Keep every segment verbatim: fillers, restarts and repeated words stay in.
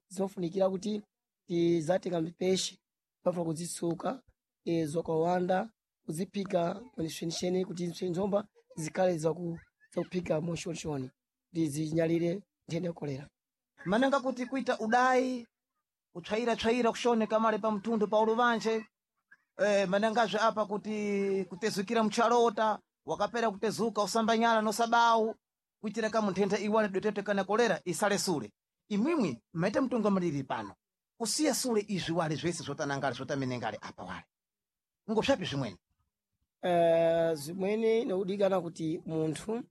Zofunikira kuti tizatenga mipeshe pafuna kuzitsuka e, zokawanda kuziphika mwenishwenishweni kuti nzomba zikhale zaku- zakuphika moshonishoni kuti zinyalire nthenda ya kolera. Manenga kuti kuita udayi kutsvaira-tsvaira kushoneka male pa mtundu pa uluvanje eh, manengazve apa kuti kutezukira mchalota wakapera kutezuka usambanyala nosabawu kuitira kamu nthenda iwale dwetete kana kolera isale sule. Imwimwi maite mtungamiriri pano kusiya sule izvi wale zvese zvotanangale zvotamenengale apa wale ngosvapi zvimweni? Eh, zimweni inodikana kuti munthu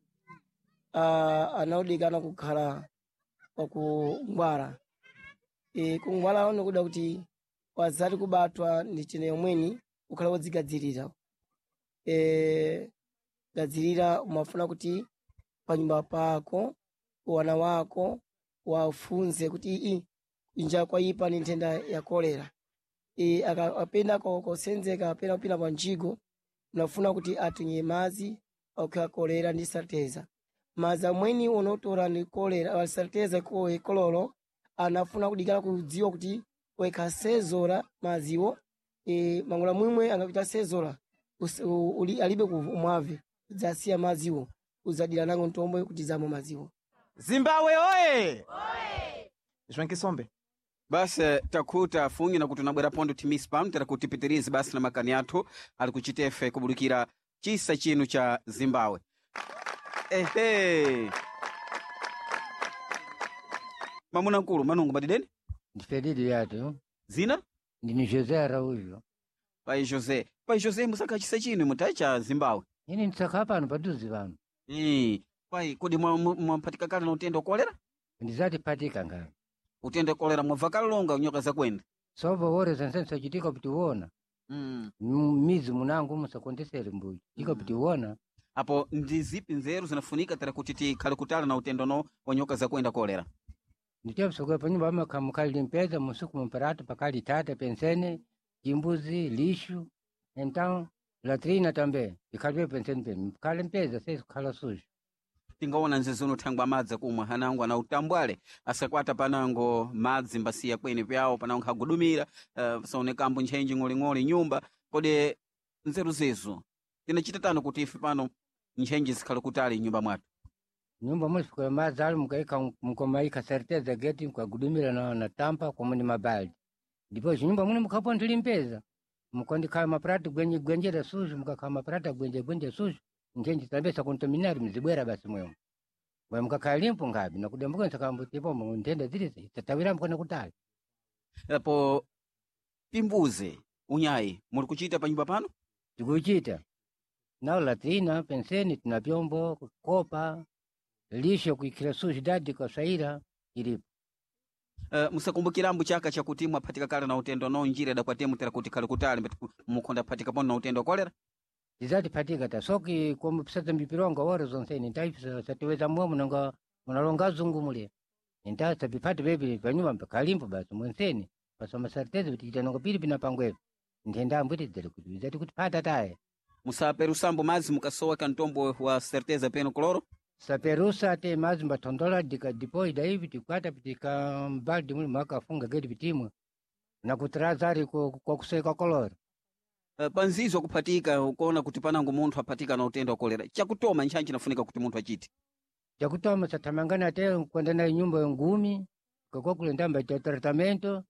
ah, anodikana kukhala wakungwara. E, kungwara nikuda kuti wazati kubatwa ndi chene yomweni ukhala wodzigadzirira. E, gadzirira umafuna kuti panyumba pako wana wako wafunze kuti ii inja kwaipa ni nthenda ya kolera. E, aka- apenda ko- kosenzeka apena kupita pa njigo unafuna kuti atunye madzi okha kolera ndi salteza. Madzi amweni unotora ndi kolera salteza kololo anafuna kudikana kudziwa kuti wekasezora madziwo e, mangula mwimwe angapita sezora us- u- uli, alibe kumwave udzasiya madziwo udzadira nango ntombo kuti zamwe madziwo. Zimbabwe oye! Zvenkisombe. Basi eh, takhuta afungi na kuti unabwera pondo timisi pano tera kuti tipitirize basi na makani athu ali kuchitefe kubudikira chisa chinu cha Zimbabwe. Ehe, mamuna mkulu manungu madideni Ndifedidi yatu zina ndini José Araújo. pai José. Pai José, musaka chisa chinu mutayi cha Zimbabwe. Ini ndisakha pano padhuze pano. Eh, pai kodi mwampatika kale na utenda wa kolera? Ndizati patika ngani. Utenda wa kolera mwabva kale longa nyoka zakwenda. Sovo wore zense sachitika kuti uona. Mm. Mizi munangu musakondesere mbuyi. Tika kuti uona. Apo ndi zipi nzeru zinafunika tera kuti tikhale kutali na utendo no wa nyoka zakwenda kolera? Ndichapsoka panyumba amakhamukali limpeza musuku mumparatu pakali tata pensene chimbuzi lixo então latrina também ikhalibe pensene pene mkhale mpeza sesikhala sujo. Tingaona nzezuno thangwa madzi akumwa anango ana utambwale asakwata panango madzi mbasiya kweni pyawo panango khagudumira uh, pasaonekambo ntchenji ng'oling'oli nyumba. Kodi nzeru zezo tinachita tano kuti ife pano ntchenji zikhale kutali nyumba mwathu? Nyumba mulifika madzi ali mukaika mukomaika certeza geti mukagudumira na, na tampa komo ni mabaldi ndipo chinyumba mune mukhapo ndilimpeza mukondikhala maprata gwenje gwenjera sujo mukakhala maprata gwenje gwenje sujo ntchenji tambe sakontaminari mzibwera basi mwemo bwe mukakhala limpo ngabi nakudambuka nsakambo nthenda zilizi tatawira mkona kutali. Apo pimbuze unyayi muli kuchita pa nyumba pano? Tikuchita nawo latrina penseni tina vyombo kopa lisho kuikhira sujo dadi kaswaira ilipo. Uh, musakumbukirambo chaka chakuti mwaphatika kale na utendo no njira idakwatemu tera kuti khale kutali mbati mukhonda phatika pano na utendo wa kolera? Tizatipatika ta soki como psata mbipironga ora zonseni ntai satiweza mwe munanga munalonga zungu mule nta sapipati bebi panyuma pakalimpo basi mwenseni pasoma certeza kuti chitanongo pili pina pangwepo nthenda ambwiti dzere kuti zati kuti pata taye. Musaperusambo madzi mukasowa kantombo wa certeza peno koloro? Saperusa ate madzi mbathondola dika depois daí tikwata pitika mbaldi muli mwakafunga gedi pitimwe na kutrazari kwa kuseka kolora. Uh, panzizo kuphatika ukuona kuti panango munthu aphatika na utendo wa kolera chakutoma ntchantchi inafunika kuti munthu achite? Chakutoma sathamangana te kwenda na nyumba ngumi kakwa ndamba cha tratamento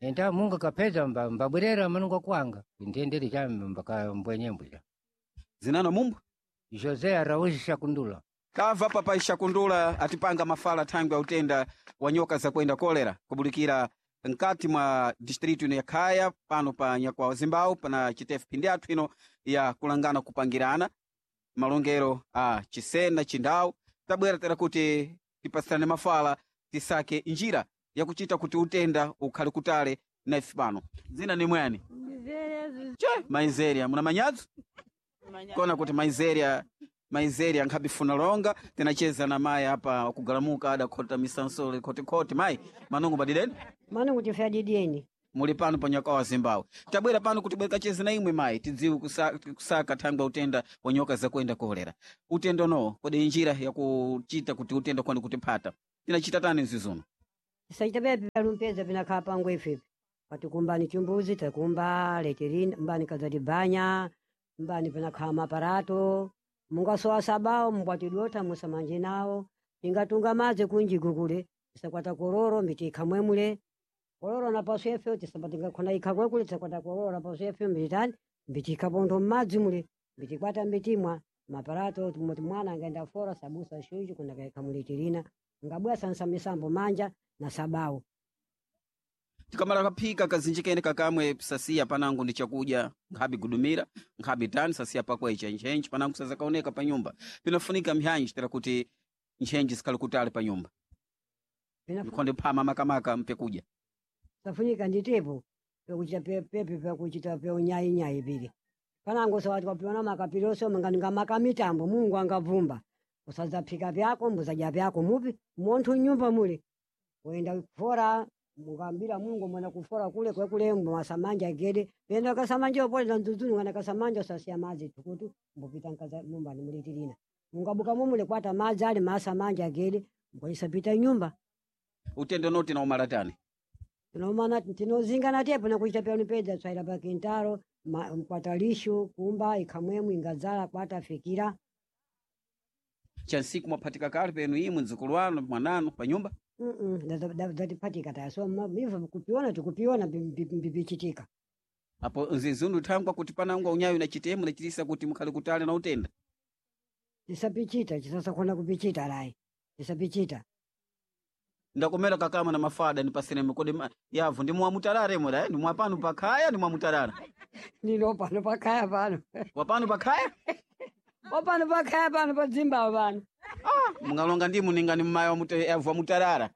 enta munga kapeza mba mbabwerera manunga kwanga ntendere cha mbaka mbwenyembwe. Zinana mumbu José Araújo Shakundula. Kamva papai Shakundula atipanga mafala thangwi ya utenda wa nyoka zakwenda kolera kubulikira nkati mwa distritu ino ya Khaya pano pa Nyakwawa Zimbabwe pana chitefu phindi athu ino ya kulangana kupangirana malongero a Chisena Chindau. Tabwera tera kuti tipasirane mafala tisake njira yakuchita kuti utenda ukhale kutale na ife pano. Dzina ni mwani? Che, Maizeria, muna manyadzo? Kona kuti Maizeria Maizeria nkhabifuna longa tinacheza na mayi apa wakugalamuka adakhota misansole khotikhoti. Mayi manungu badideni? Mano kuti fyadideni. Muli pano pa Nyakwawa Zimbabwe. Tabwera pano kuti bwekacheze na imwe mayi tidziwe kusa, kusaka thangwi ya utenda wa nyoka zakwenda kolera. Utendo no kodi njira yakuchita kuti utenda kwani kutiphata tinachita tani mzizuno? Tisaita pepe vyalumpeza vinakhala pangu ifepe. Patikumbani chimbuzi takumba leterina mbani kazatibanya mbani panakhala maparato mungasowa sabawo mubwatidota musamanje nawo tingatunga madzi kunjiku kule tisakwata kororo mbitikha mwemule kororo napaso efe tisapatingakhona ikha kwekule tisakwata kororo napaso efe mbitani mbitikha pontho mmadzi mule mbitikwata mbitimwa maparato timoti mwana angaenda fora sabusa shuju kuna kaikha mulitirina ngabwa sansa misambo manja na sabawo Tikamala kaphika kazinji kene kakamwe sasiya panango ndi chakudya nkhabi gudumira nkhabi tani sasiya pakwecha ntchentche panango sazakaoneka pa nyumba pinafunika mphyanji tera kuti ntchentche zikhale kutali pa nyumba Pinafu- ndikhonde phama makamaka mpekudya safunika nditepo pekuchita pe- pepe pekuchita peunyainyayi pili panango sawati kwapiona makapiloso manganinga mitambo mungu angavumba usadzaphika pyako mbuzadya pyako mupi munthu nyumba muli uyenda kufora mukambira mungu mwena kufora kule kwekule mwasamanja gede penda kasamanja opoleza mdzudzunu kana kasamanja usasiya madzi tukutu mbupita nkaza mumbani mulitirina mungabuka mumule kwata madzi ali masamanja gede mukwaisapita nyumba utendo noti na umalatani tinomana tinozingana tepo nakuchita pyanu pedza tswaira pa kintaro ma- mkwata lishu kumba ikhamwemwe ingadzala kwata fikira chansiku mwaphatika kale penu imwe mdzukulu wanu mwananu pa nyumba Mm-mm, da- da- da- datiphatika taya so ma- ivo kupiona tikupiona mbipichitika apo nzizundu thangwa kuti panango unyayo na chitemu nachitisa kuti mukhale kutali na utenda tisapichita chisasakhona kupichita layi tisapichita ndakomera kakama na mafada ndipasiremo kodi ma- yavu ndi mwamutalare moda ndi mwapano pakhaya ndi mwamutalala ndino pano pakhaya pano wapano pakhaya wapano pakhaya pano padzimbawo pano mungalonga ndimu ningani mmaya wamute- yavu wamutalala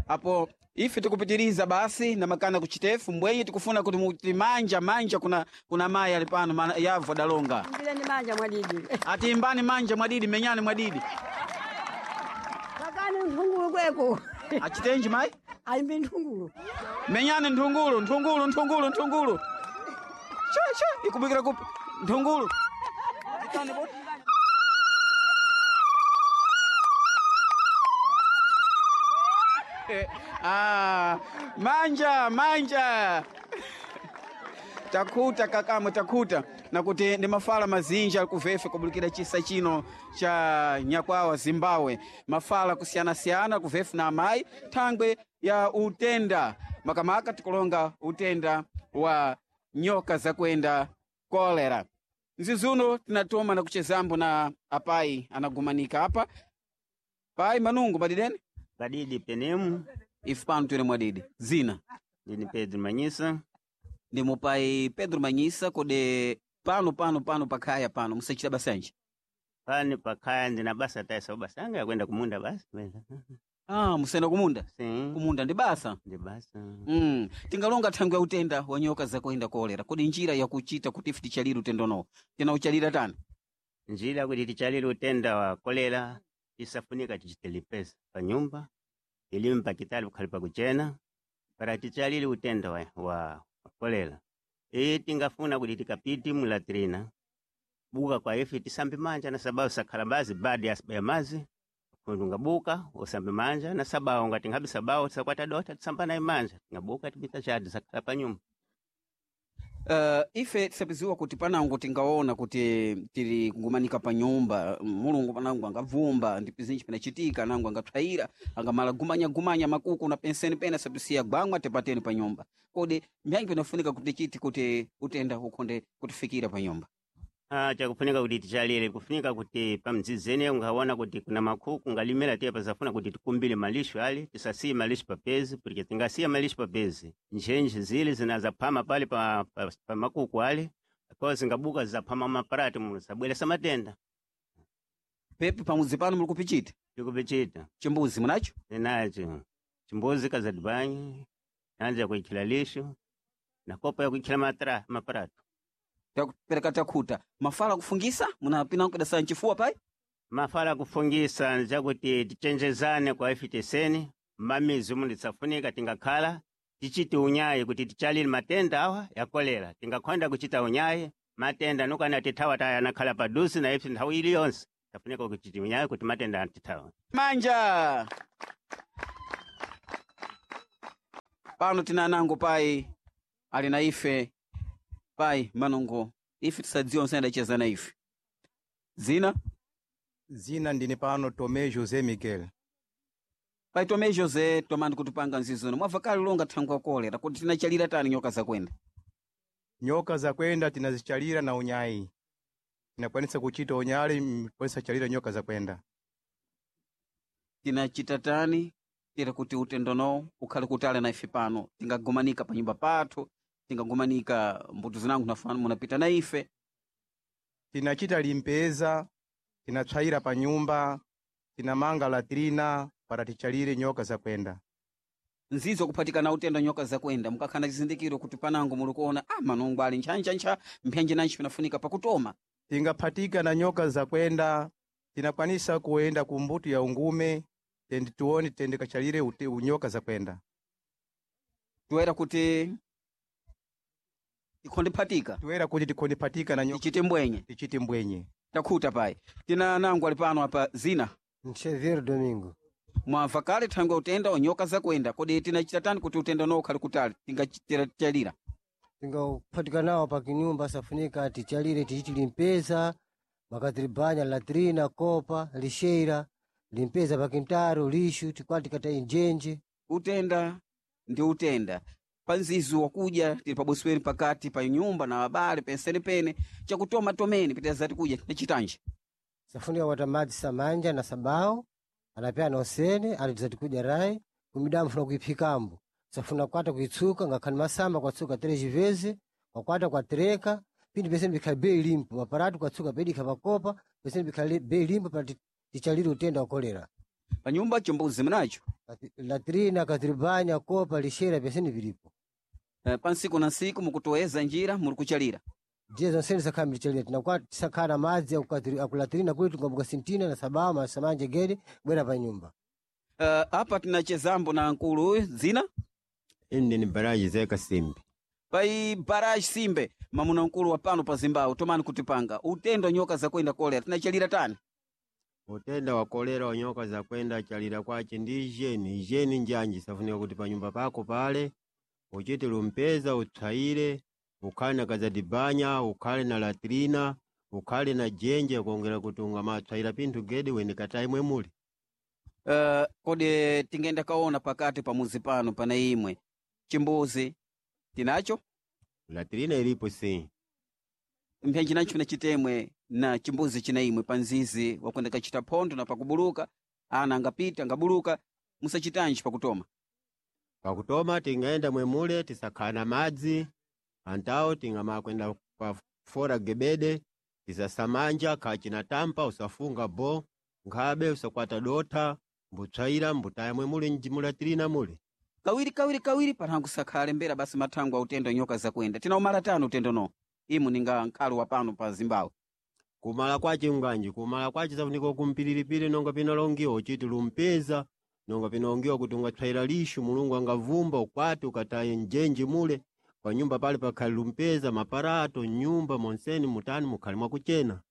apo ife tikupitiriza basi na makana kuchitefu mbwenye tikufuna kuti muti manja manja kuna kuna mayi ali pano mana- yavu adalonga mbireni manja mwadidi ati imbani manja mwadidi menyani mwadidi pakani nthungulu kweko achitenji mayi ayimbi nthungulu menyani nthungulu nthungulu nthungulu nthungulu sha sha ikubikira kupi nthungulu Ah, manja manja takhuta kakamwe takhuta nakuti ndi mafala mazinji ali kuvefe kubulikira chisa chino cha nyakwawa zimbabwe mafala kusiyanasiyana kuvefe na amayi thangwe ya utenda makamaka tikulonga utenda wa nyoka zakuenda kolera nzizuno tinatoma na kuchezambo na apayi anagumanika apa payi manungu madidene Padidi penemu ife pano tili mwadidi zina ndini Pedro Manyisa ndi mupai Pedro Manyisa kodi pano pano pano pakhaya pano musachita basanji pani pakhaya ndina basa taisa basa anga yakwenda kumunda basi kwenda ah musenda kumunda si kumunda ndi basa ndi basa mm. tingalonga thangwe ya utenda wa nyoka zakuenda kolera kodi njira yakuchita kuti ife tichalire utendonowo tinauchalira tani njira kuti tichalire utenda wa kolera isafunika tichitelipesa pa nyumba ilime pakitali kukhali pakuchena para tichalire utenda wa, wa wa kolera iyi tingafuna kuti tikapiti mulatrina buka kwa ife tisambe manja na sababu sakhala bazi badi ya mazi kundu ngabuka usambe manja na sababu ngati ngabi sababu tisakwata dota tisamba naye manja ngabuka tibita chadi sakhala pa nyumba Uh, ife tisapiziwa kuti panango tingaona kuti tili kugumanika pa nyumba mulungu panango angavumba ndi pizinji pinachitika nango angathwayira angamala gumanya-gumanya makuku na penseni pena sapisiya gwangwa tipateni pa nyumba kodi mbyangi pinafunika kuti chiti kuti utenda ukhonde kutifikira pa nyumba Ah, chakufunika kuti tichalire kufunika kuti pamdzizene ungaona kuti kuna makhuku ngalimira tiye pasafuna kuti tikumbile malisho ali tisasiye malisho papezi porque tingasiya malisho papezi ntchentche zile zinazaphama pale pa, pa, pa makuku ali kwa zingabuka zizaphama maparati muno zabweresa matenda pepe pamudzi pano muli kupichita tikupichita chimbuzi munacho ninacho chimbuzi kazadibanyi yanza kuikhila lisho na kopo yakuikhila matra maparato takupereka takhuta mafala kufungisa munapina kudasa mchifuwa pai mafala kufungisa njakuti tichenjezane kwa ife teseni mmamizi umu nditsafunika tingakhala tichite unyayi kuti tichalire matenda awa ya kolera tingakhonda kuchita unyayi matenda nukana tithawa taya anakhala padusi na ife nthawi iliyonse tafunika kuchita unyayi kuti matenda atithawa manja Pano tina anango pai ali na ife pai manongo ife tisadziwa nsayendacheza na ife. Zina Zina ndine pano Tomé José Miguel. Pai Tomé José tomani kutipanga nzizono mwabva kale longa thangwi ya kolera kuti tinachalira tani nyoka zakwenda. Nyoka zakwenda tinazichalira na unyayi. Tinakwanisa kuchita unyali mkwanisa chalira nyoka zakwenda. Tinachita tani tira kuti utendono ukhale kutali na ife pano tingagumanika pa nyumba pathu tingagumanika mbuto zinango nafana munapita na ife. Tinachita limpeza, tinatswaira pa nyumba, tinamanga latrina para tichalire nyoka zakwenda. Nzizo kuphatikana utendo nyoka zakwenda mukakhala chizindikiro kuti panango muli kuona ah manongo ali ntchantchantcha mphenje nanji pinafunika pakutoma. Tingaphatika na nyoka zakwenda, tinakwanisa kuenda ku mbuto ya ungume, tendi tuone tende kachalire ute unyoka zakwenda. Toera kuti tikhondiphatika Toera kuti tikhondiphatika na nyoka tichite mbwenye tichite mbwenye. Takhuta pai tina nango ali pano apa zina Xavier Domingo. Mwamva kale thangwi utenda onyoka zakwenda kodi tinachita tani kuti utenda uno ukhale kutali tingachalira Tingaphatika nawo pa kinyumba safunika tichalire tichiti limpeza makatiribanya latrina kopa lixeira limpeza pa kintaro lixo tikwati tikata injenje. Utenda ndi utenda panzizi wakuja tili pabosweni pakati pa nyumba na abale pensene pene chakutoma tomene pitazati kuja tinachitanje. Safunika kwata madzi samanja na sabao anapyana osene alitizati kudya rai kumidamu funa kuiphikambo safuna kwata kuitsuka ngakhani masamba kwatsuka três vezes kwakwata kwatereka pindi pesene bikhali bei limpo maparatu kwatsuka pedikha pakopa pesene bikhali bei limpo para tichalire utenda wa kolera. Pa nyumba chimbuzi mnacho latrina katiribanya kopa lixeira pesene vilipo. Eh, pa nsiku na nsiku mukutoweza njira muli kuchalira Ndiye zonsene tisakhala mtichalira tinakwa tisakhala madzi akulatrina kuli tingambuka sintina na sabao masamanja gede bwera pa nyumba. Uh, apa tinachezambo na nkulu uyu dzina Ine ni Baraji Zeka Simbi. Pai Baraji Simbe mamuna nkulu wa pano pa Zimbabwe tomani kutipanga utendo nyoka zakwenda kolera tinachalira tani. Utenda wa kolera wa nyoka zakwenda chalira kwache ndi ijeni ijeni njanji safunika kuti pa nyumba pako pale uchite lumpeza utswaire ukhale na kazadibanya ukhale na latrina ukhale na jenje kuongera kuti ungamatswaira pinthu gede wene katayi mwemuli. Uh, kodi tingenda kaona pakati pa muzi pano pana imwe chimbuzi tinacho Latrina ilipo si mphenji nacho na chitemwe na chimbuzi china imwe pa nzizi wakwenda kachita phondo na pakubuluka ana angapita angabuluka musachitanji pakutoma. Pakutoma tingaenda mwemule tisakhala na madzi antawo tingamakwenda pa fora gebede tisasamanja khachina tampa usafunga bo nkhabe usakwata dotha mbutswaira mbutaya mwemule mulatirina mule. Kawiri kawiri kawiri panhangu sakhale mbera basi mathangwi a utendo nyoka zakwenda tinaumala tani utendo no imu ninga nkhalo wa pano pa Zimbabwe. Kumala kwace nganji kumala kwace safunika kumpiliripiri nonga pinalongiwa uchiti lumpeza nonga pinalongiwa kuti ungatswaira lixo mulungu angavumba ukwati ukataye njenje mule pa nyumba pale pakhali lumpeza maparato nyumba monseni mutani mukhali mwakuchena.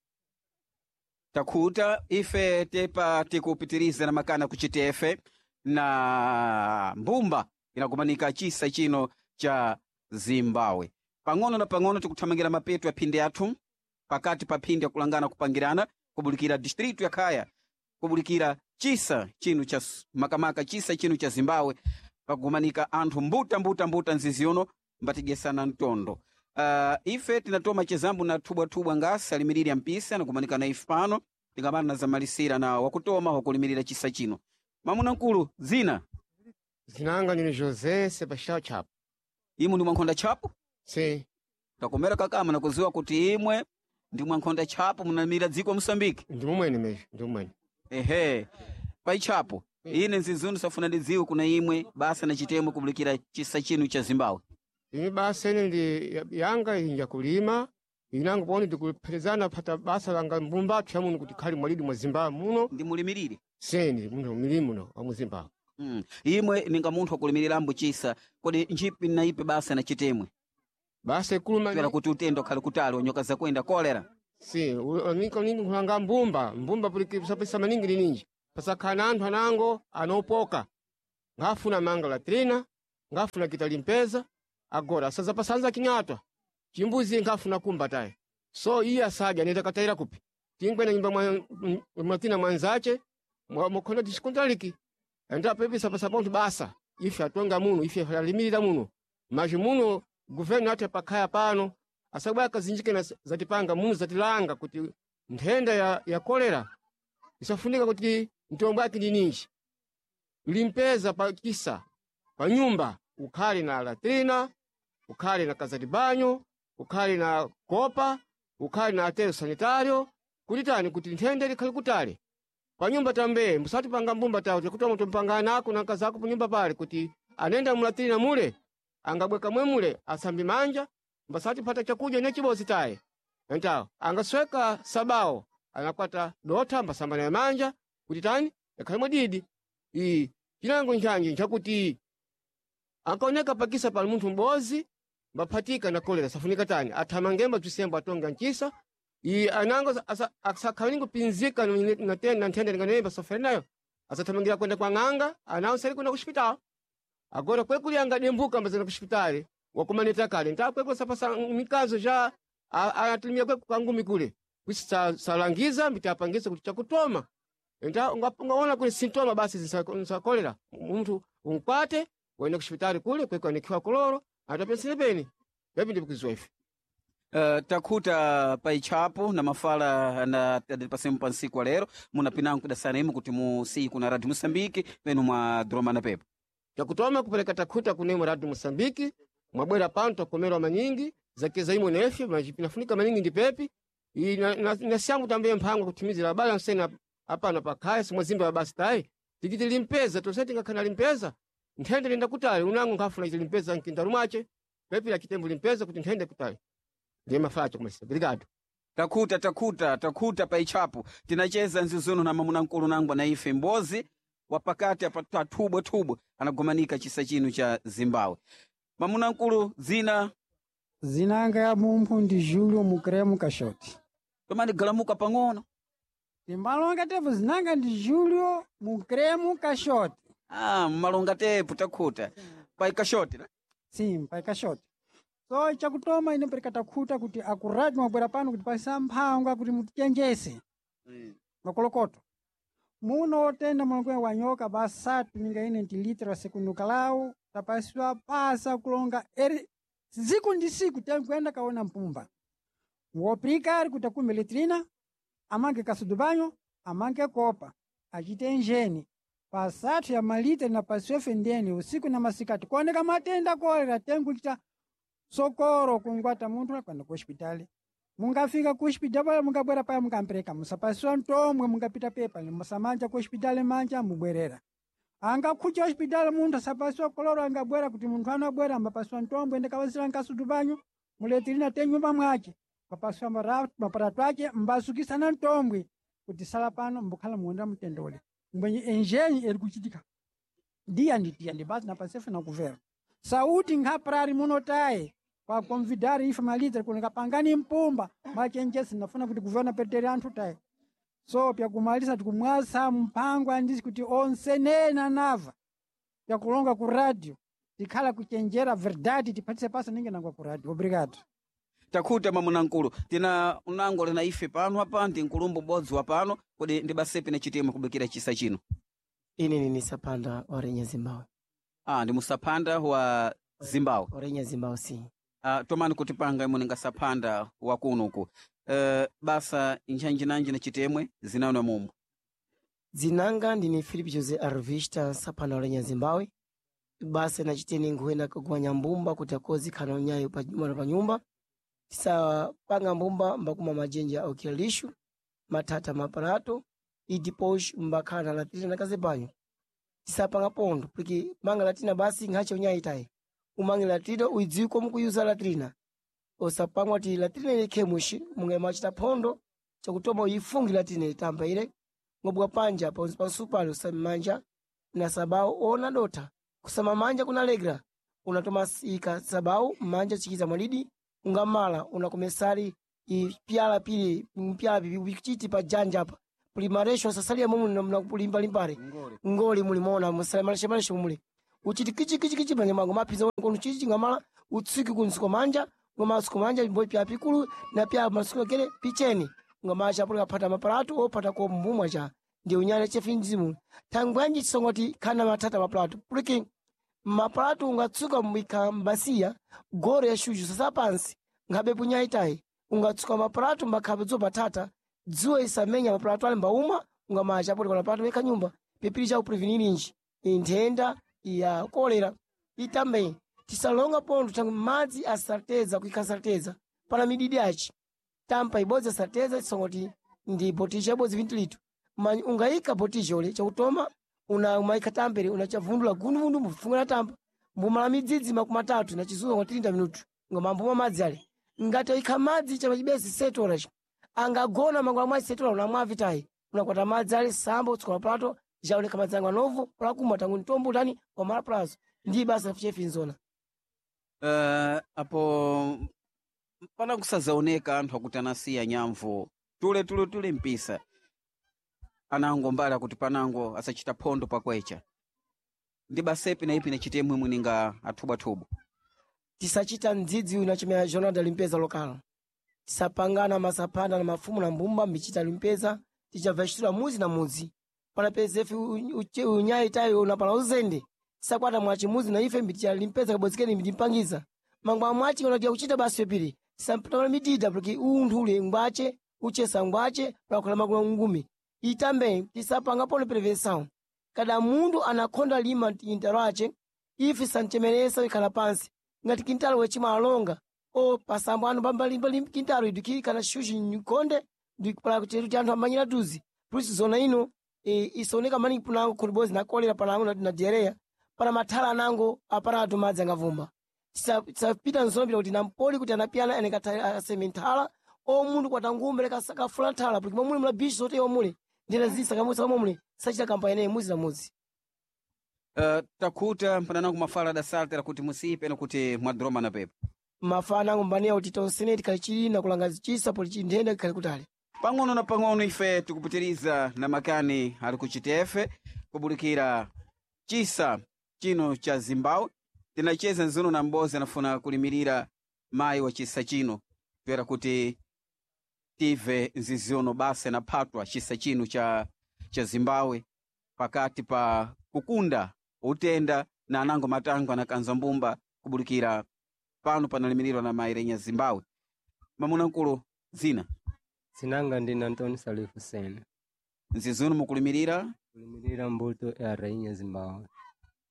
Takhuta ife tepa tikupitiriza na makana kuchitefe na mbumba inakumanika chisa chino cha Zimbabwe pang'ono na pang'ono tikuthamangira mapeto ya phindi athu pakati pa phindi yakulangana kupangirana kubulikira distritu ya Khaya kubulikira chisa chino cha makamaka chisa chino cha Zimbabwe pakugumanika anthu mbuta mbuta mbuta nzizi uno mbatigesana mtondo. Uh, ife tinatoma chezambu na thubwathubwa ngasi alimiriri ya mpisa nakumanika na ife pano tingamana na zamalisira na wakutoma wakulimirira chisa chino mamuna nkulu zina Zinanga ndine José Sebastião Chapo. Imwe ndi mwankhonda Chapo? Sim. Takomera kakama nakuziwa kuti imwe ndi mwankhonda Chapo munamira dziko Mosambiki. Ndi mumwene mesmo, ndi mumwene. Ehe. Pai Chapo, ine nzizunu safuna ndidziwe kuna imwe basa na chitemwe kubulikira chisa chinu cha Zimbabwe. Imi basa ine ndi yanga inja kulima, inango poni ndikupherezana pata basa langa mbumbathu ya muno kuti khali mwalidi mwa Zimbabwe muno. Ndi mulimirire? Sim, ndi munthu mulimi muno wa mu Zimbabwe. Mm. Imwe ninga munthu wakulimirirambo chisa, kodi njipi na ipe basa na chitemwe? Basa ikuluma Twera kuti utendo khali kutali onyoka zakwenda kolera. Sim, niko ningi nkulanga mbumba, mbumba puli sapesa maningi lininji. Pasakhala anthu anango anopoka. Ngafuna manga latrina, ngafuna kita limpeza agora asaza pasanza kinyatwa chimbuzi ngafuna kumba taye so iye asadya nenda katayira kupi tingwena nyumba mwa mwatina mwanzache mwakhona tishikuntaliki enda pepisa pasapontu basa ife atonga muno ife alimirira muno maji muno guvernu ate pakhaya pano asabwa akazinjike na zatipanga muno zatilanga kuti nthenda ya, ya kolera isafunika kuti mtombo ake ndi ninji limpeza pa kisa pa nyumba ukhale na latrina ukhale na kazatibanyo ukhale na kopa ukhale na atero sanitario kuti tani kuti nthenda likhale kutali pa nyumba tambe musatipanga mbumba tawo tikutoma tumpanga nako na nkazako pa nyumba pale kuti anenda mulatrina mule angabweka mwe mule asambi manja mbasati pata chakudya ne chibozi taye entawo angasweka sabawo anakwata dotha mbasamba naye manja kuti tani yakhale mwadidi iyi chinango nchanji nchakuti ankaoneka pakisa pali munthu m'bozi mbaphatika na kolera safunika tani athamangemba bzisembo atonga ncisa iyi anango asakhalingo pinzika na na nthenda linganemba sofere nayo asathamangira kwenda kwa ng'anga anawo sali kwenda kuxipitala agora kwekuli angadembuka mbazana kuxipitali wakumaneta kale ntakwekula sapasa mikazo ja anatumia kweku kangumi kule kwisi salangiza mbitapangisa kuti chakutoma nta ungaona kuli sintoma basi zinsakolera munthu unkwate waenda kuxipitali kule kweko anikiwa koloro atapensile peni pepi ndipikuziwa ife. Uh, takhuta pa itchapo na mafala na pasemu pa nsiku wa lero munapinango kudasana imu kuti musiyi kuna Radio Moçambique penu mwa dromana pepo Takutoma kupereka takhuta kunemo Radio Moçambique mwabwera pano takomerwa manyingi zakeza imwe nefe pinafunika maningi ndi pepi iyi na syangu tambe mphango kutimizira abale ansena apana pakhaya simwazimba basi tayi tikiti limpeza tonse tingakhana limpeza nthende linda kutali unango nkhafuna iti limpeza mkindaru mwace pepi la chitembo limpeza kuti nthende kutali ndiye mafacho kumesa obrigado. Takhuta takhuta takhuta pa itchapo tinacheza nzizuno na mamuna mkulu nangwa na ife mbozi wapakati apa tathubwe-thubwe anagomanika chisa chino cha Zimbabwe. Mamuna mkulu dzina Zinanga ya mumphu ndi Julio Mukremu Kashoti. tomani galamuka pang'ono. Timbalonga tepo zinanga ndi Julio Mukremu Kashoti. Ah, mmalonga tepo takhuta pa Kashoti na? Sim, pa Kashoti. So chakutoma ine pereka takhuta kuti akurati mwabwera pano kuti pasa mphangwa kuti mutichenjese makolokoto. Muno otenda mulongo wa nyoka basatu ninga ine ndi litera sekundukalau tapasiwa pasa kulonga eri siku ndi siku tenkuenda kaona mpumba. Ngoprikari kuti akume letrina amange kasudubanyo amange kopa achite enjeni pasathu ya malita na pasiwefe ndeni usiku na masikati kuoneka matenda kolera tenkuchita sokoro kungwata munthu akwenda ku hospitali mungafika ku hospitali pala mungabwera paya mungampereka musapasiwa ntomwe mungapita pepa musamanja ku hospitali manja mubwerera angakhucha hospitali munthu asapasiwa koloro angabwera kuti munthu anabwera ambapasiwa ntombwe ndekawazira nkasudu muletirina tenyumba mwace papasiwa maparato ace mbasukisana ntombwe kuti sala pano mbukhala muwonda mtendole mbwenye enjenyi eri kuchitika diya ndi diya ndi basi napasefe nakuvera sauti nkhaprari munotaye kwa convidar ife malita kunika pangani mpumba machenjesi nafuna kuti kuvena petere anthu taye so pyakumalisa tikumwasa mpango andisi kuti onse nena nava pyakulonga ku radio tikhala kuchenjera verdade tiphatise pasa ninge nangwa ku radio obrigado. Takhuta mamuna mkulu tina unango lina ife pano apa ndi nkulumbu bodzi wa pano kodi ndi basepi na chitema kubikira chisa chino. Ine nini sapanda orenya Zimbabwe. Ah, ndi musaphanda wa Zimbabwe. Orenya Zimbabwe si. Ah, tomani kutipanga imwe ninga saphanda wa kunuku. Uh, basa nchanjinanji na chitemwe zinaona mumbu. Dzinanga ndine Philip Jose Arvista sapanda orenya Zimbabwe. Basa na chitene nkuena kugwanya mbumba kuti akozi khana unyayo pa nyumba pa nyumba. Tisapanga mbumba mbakuma majenja okira lishu matata maparato idiposh mbakhala latina na kazebanyo. Tisapanga pondo porque manga latina basi nkhache unyayi tayi. Umange latrina uidziwe komu kuyuza latrina. Osapangwa ti latrina ile khemushi munga machita phondo chakutoma uyifungi latrina itamba ile ngobwa panja pansi pansupali usamanja na sabau ona dota kusama manja kunalegra unatoma ika sabau manja chikiza mwalidi ungamala unakomesali ipyala pili mpyala pipi upichiti pa janja apa puli maresho sasalia mumu nakulimbalimbale ngoli mulimona musale maresho maresho muli Uchiti kichi kichi kichi manja mwango mapisa kono chichi ngamala utsiki kunsuko manja ngomasuko manja mbo pya pikulu na pya masuko kele picheni ngamacha pula kapata mapalatu opata ko mbumwa cha ndi unyale chefinzimu thangwanji chisongoti khana matata mapalatu puliki mapalatu ungatsuka mwika mbasiya goro ya shuju sasa pansi nkhabe punyaitayi ungatsuka mapalatu mbakhabe dzuwa patata dzuwa isamenya mapalatu ali mbauma ungamacha puli kona palatu wekha nyumba pipili cha uprevenirinji nthenda ya kolera itambe tisalonga pontho thangwi madzi asateza kuikha sateza pana mididi aci tampa ibodzi asateza tisongoti ndi botisha ibodzi vinti litu manyi ungayika botisha ule chakutoma una umayikha tampere unachavundula gunduvundu mbufunga na tampa mbumala midzidzi makumi atatu na chizunga kwa tilinda minutu ngomambuma madzi ale ngati oyikha madzi chapachibesi setola cho angagona mangola mwa setola unamwa vitayi unakwata madzi ale samba utsuka plato jauleka madzi angu anovu polakumwa tangu mtombo utani wamala plazo ndi basa chefinzona Uh, apo pana kusazaoneka anthu akuti anasiya nyamvu tule tule tule mpisa anango mbali akuti panango asachita phondo pakwecha ndi basepi na ipi nachitemwe mwininga athubwathubu tisachita mdzidzi unachimea jornal da limpeza local tisapangana masaphana na mafumu na mbumba michita limpeza tichabva muzi na muzi panapeza ife unyayi tayo unapala uzende tisakwata mwachi muzi na ife mbiticha limpeza kabodzikeni mbitimpangiza mangwa mwachi unatiya kuchita basi pepiri tisampatana midida porque unthu ule ngwache uchesa ngwache pakhola makulu ngumi itambe tisapanga polo prevenção kada munthu anakhonda lima intalo ace ife sanchemeresa ikhala pansi ngati kintalo wechimwa alonga o pasambo anu pambalimba kintalo idu kana shushi nkonde ndipala chetu cha anthu amanyira tuzi plus zona ino e, isoneka maningi punango khulibozi na kolera panango na, na diarrhea pana mathala anango aparatu madzi angavumba tisapita nzona kuti nampoli kuti anapiyana ene aseme nthala o munthu kwatangumbe kafula nthala porque momuli mula bichi zote omule ndena zisa kamusa momule sachita kampani muzi na muzi uh, takhuta mpananango mafala adasaltera kuti musipe nakuti mwadroma na pepo mafana angu mbaniya kuti tonsene tikhali na kulanga zichisa poli chinthenda ikhali kutali pang'ono na pang'ono ife tikupitiriza na makani ali kuchitefe kubulikira chisa chino cha zimbabwe tinacheza nzuno na mbozi anafuna kulimirira mayi wa chisa chino toera kuti tive nziziono basa naphatwa chisa chino cha, cha zimbabwe pakati pa kukunda utenda na anango matango anakanza mbumba kubulikira pano panalimirirwa na mayi renya zimbabwe mamuna mkulu zina Sinanga ndine Antônio Salif Sen. nzizuno mukulimirira Kulimirira mbuto ya rainha Zimbabwe.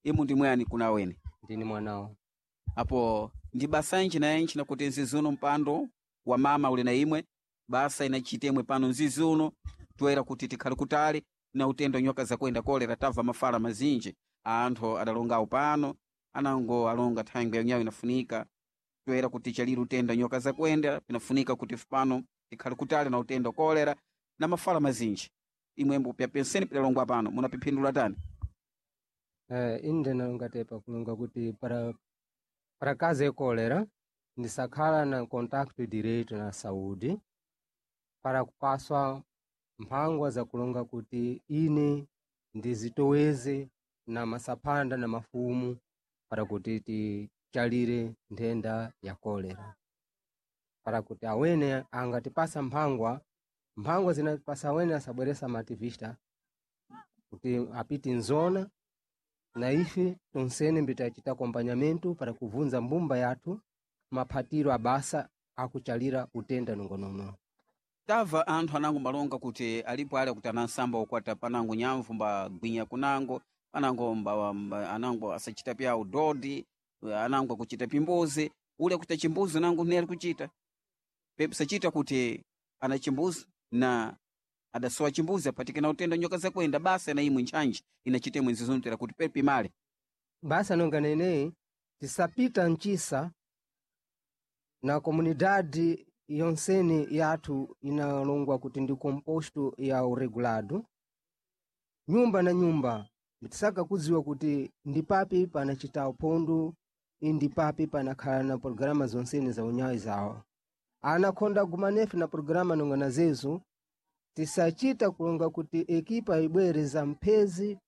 imu ndi mwani kuna awene Ndini mwanawo. apo ndi basa inji na inji nakuti nzizuno mpando wa mama uli na imwe basa inachitemwe pano nzizuno toera kuti tikhale kutali na utendo nyoka zakwenda kolera tabva mafala mazinji anthu adalongawo pano anango alonga thangwi yanyawo inafunika toera kuti chaliri utenda nyoka zakwenda pinafunika kuti pano tikhale kutali na utendo kolera na mafala mazinji imwembo pyapenseni pidalongwa pano munapiphindula tani Eh, inde nalonga kulonga kuti para para caso ya cólera ndisakhala na contacto direto na saúde para kupaswa mphangwa za kulonga kuti ine ndizitoweze na masaphanda na mafumu para kuti tichalire nthenda ya kolera para kuti awene angatipasa mphangwa mphangwa zinatipasa awene asabweresa mativista kuti apite nzona na ife tonsene mbitachita acompanhamento para kuvunza mbumba yathu maphatiro abasa akuchalira utenda nongonono tamva anthu anango malonga kuti alipo ali akuti anansamba ukwata panango nyamvu mbagwinya kunango panango mba, mba, anango asachita pya udodi anango akuchita pimbuzi ule akuchita chimbuzi nango ne ali kuchita pepe sachita kuti ana chimbuzi na adasowa chimbuzi apatike na utenda nyoka zakwenda basa na imwe ntchantchi inachita imwe nzizunutira kuti pepe male basa nonga neneyi tisapita mchisa na comunidade yonsene yathu inalongwa kuti ndi composto ya uregulado nyumba na nyumba tisaka kudziwa kuti ndi papi panachita uphondo ndi papi panakhala na programa zonsene za unyawi zawo anakhonda gumanefe na programa nonga na zezo tisachita kulonga kuti ekipa ibwere za mphezi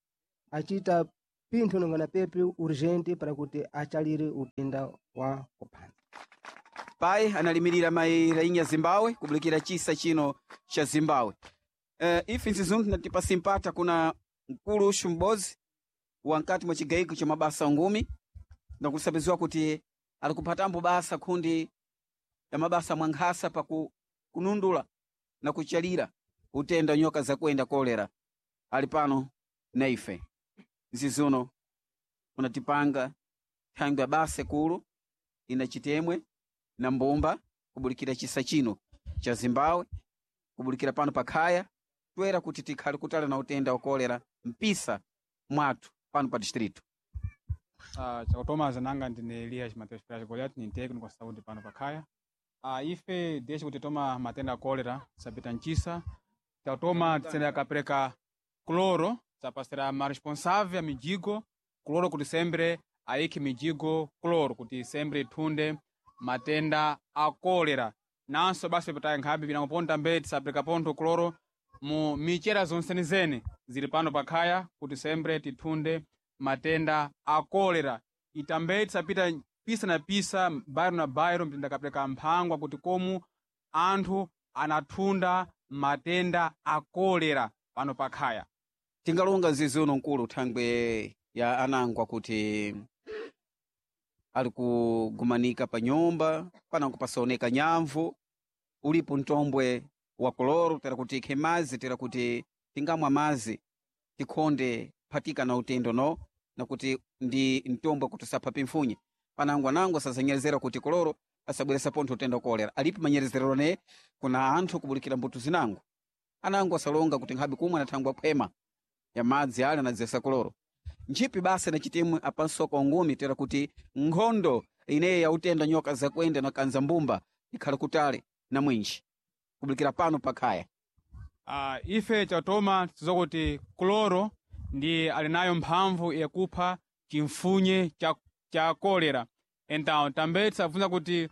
achita pinthu nongana pepe urgente para kuti achalire utenda wa kupanda. Pai analimirira mai rainha Zimbabwe kubulikira chisa chino cha Zimbabwe. Uh, ife nzizuntu natipasi mpata kuna mkulu ushu m'bodzi wankati mwa chigaiko cha mabasa ngumi nakusabiziwa kuti ali kuphatambo basa khundi ya mabasa mwankhasa paku kunundula na kuchalira utenda nyoka zakuenda kolera ali pano na ife nzizuno unatipanga thangwi ya basa kulu ina chitemwe na mbumba kubulikira chisa chino cha Zimbabwe kubulikira pano pakhaya twera kuti tikhale kutala na utenda wa kolera mpisa mwathu pano pa distrito. Uh, chakutoma zananga ndine Elias Mateus Pereira Goliath ni técnico wa saúde pano pakhaya. Uh, ife desde kuti toma matenda a cólera sapita nchisa tatoma tisendera kapereka cloro sapasira ma responsável a mijigo cloro kuti sempre ayikhe mijigo cloro kuti sempre ithunde matenda a cólera nanso basi pataye nkhambi pinangoponta mbe tisapereka pontho cloro mu michera zonsenizene zili pano pakhaya kuti sempre tithunde matenda a kolera itambe tisapita pisa na pisa bairo na bairo mtinda kapereka mphangwa kuti komu anthu anathunda matenda a kolera pano pakhaya. Tingalonga nzizuno mkulu thangwe ya anangwa kuti ali kugumanika pa nyumba panango pasaoneka nyamvu ulipo mtombwe wa koloro tera kuti ikhe mazi tera kuti tingamwa mazi tikhonde phatika na utendo no nakuti ndi mtombwe kuti usapha pimfunye panango anango asazanyerezera kuti koloro asabweresa pontho utenda wa kolera alipo manyerezero ne kuna anthu kubulikira mbuto zinango anango asalonga kuti nkhabe kumwe anathangwa phwema ya madzi ale anadzesa koloro ntchipi basa na chitimwe apansoka ungumi tera kuti nkhondo ineyi ya utenda nyoka zakuenda na kanza mbumba ikhala kutale na mwinji kubulikira pano pakhaya. Uh, ife chatoma tizokuti kloro ndi ali nayo mphamvu yakupha chimfunye cha, cha kolera então tambe tisabvunza kuti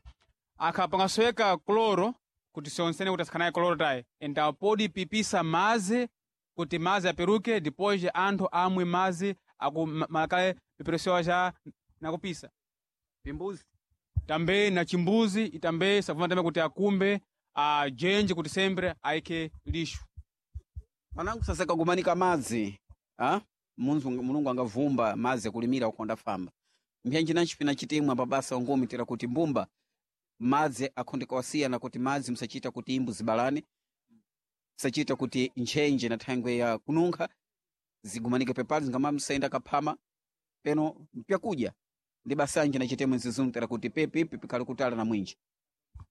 akhapangasweka kloro kuti sionsene kuti asikhanaye kloro tayi então podi pipisa mazi kuti mazi aperuke depois anthu amwe mazi aku malakale piperesewa cha nakupisa pimbuzi tambe na chimbuzi itambe sabvunza tambe kuti akumbe ajenje kuti sempre ayikhe lixo. Panango sasakagumanika madzi ah? Munzu mulungu angavumba madzi akulimira ukonda famba mbyanji na nchipina chitimwa pabasa ungumi tera kuti mbumba madzi akhondeka wasiyana kuti madzi musachita kuti imbu zibalane musachita kuti ntchenje na thangwe ya kununkha zigumanike pepali zingama msaenda kaphama peno mpyakudya ndi basanje na chitemwe nzizungu tera kuti pepipi pikhale kutala na mwinji.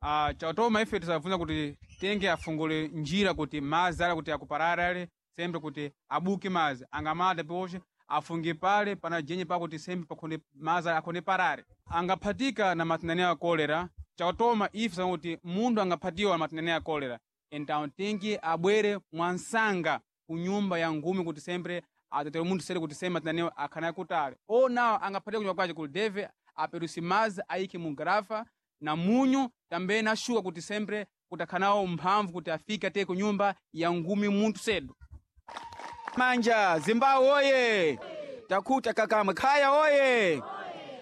Uh, chatoma ife tisabvunza kuti tenge afungule njira kuti mazi ale kuti akuparare ale sempre kuti abuke mazi angamata poche afunge pale pana jenye pakuti sempre pakhonde mazi akhonde parare angaphatika na matendane a kolera. Chatoma ife tisabvunza kuti munthu angaphatiwa na matendane a kolera então tenge abwere mwansanga ku nyumba ya ngumi kuti sempre atetele munthu sere kuti sempre matendanewo akhanaye kutale onawo angaphatika kunyumba kwace kuti deve aperusi mazi ayikhe mu garafa na munyu tambe na shuka kuti sempre kuti akhanawo mphamvu kuti afike ate ku nyumba ya ngumi munthu sedu. Manja Zimbabwe oye takhuta kakamwe khaya oye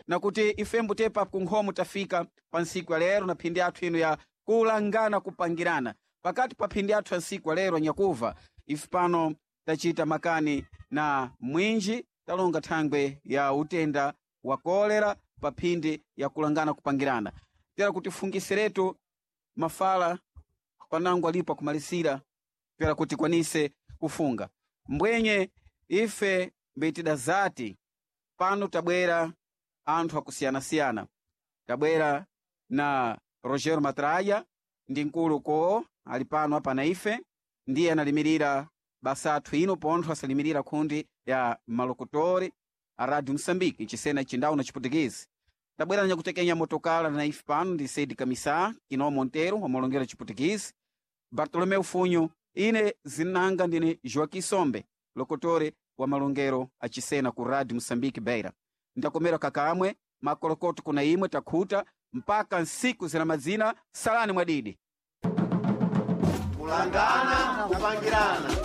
nakuti ifembo tepa kunkhomo tafika pa ntsiku ya lero na phindi athu ino ya kulangana kupangirana pakati pa phindi athu ya ntsiku ya lero nyakuva ife pano tachita makani na mwinji talonga thangwe ya utenda wa kolera pa phindi ya kulangana kupangirana tera kuti fungiseretu mafala panango alipo akumalisira tera kuti kwanise kufunga mbwenye ife mbetida zati pano tabwera anthu akusiyana-siyana tabwera na Rogero Matraia ndi mkulu koo ali pano apa na ife ndiye analimirira basa athu ino pontho asalimirira khundi ya malokotori a Radio Moçambique nchisena chindawu na chiputikezi tabwera na nyakutekenya motokala na ife pano ndi Said Kamisa Kino Montero wamalongera chiputikezi Bartolomeu Funyo ine zinanga ndine Joaquim Sombe lokotore wa malongero achisena ku Radio Moçambique Beira ndakomera kakamwe makolokoto kuna imwe takhuta mpaka nsiku zina madzina salani mwadidi Kulangana kupangirana.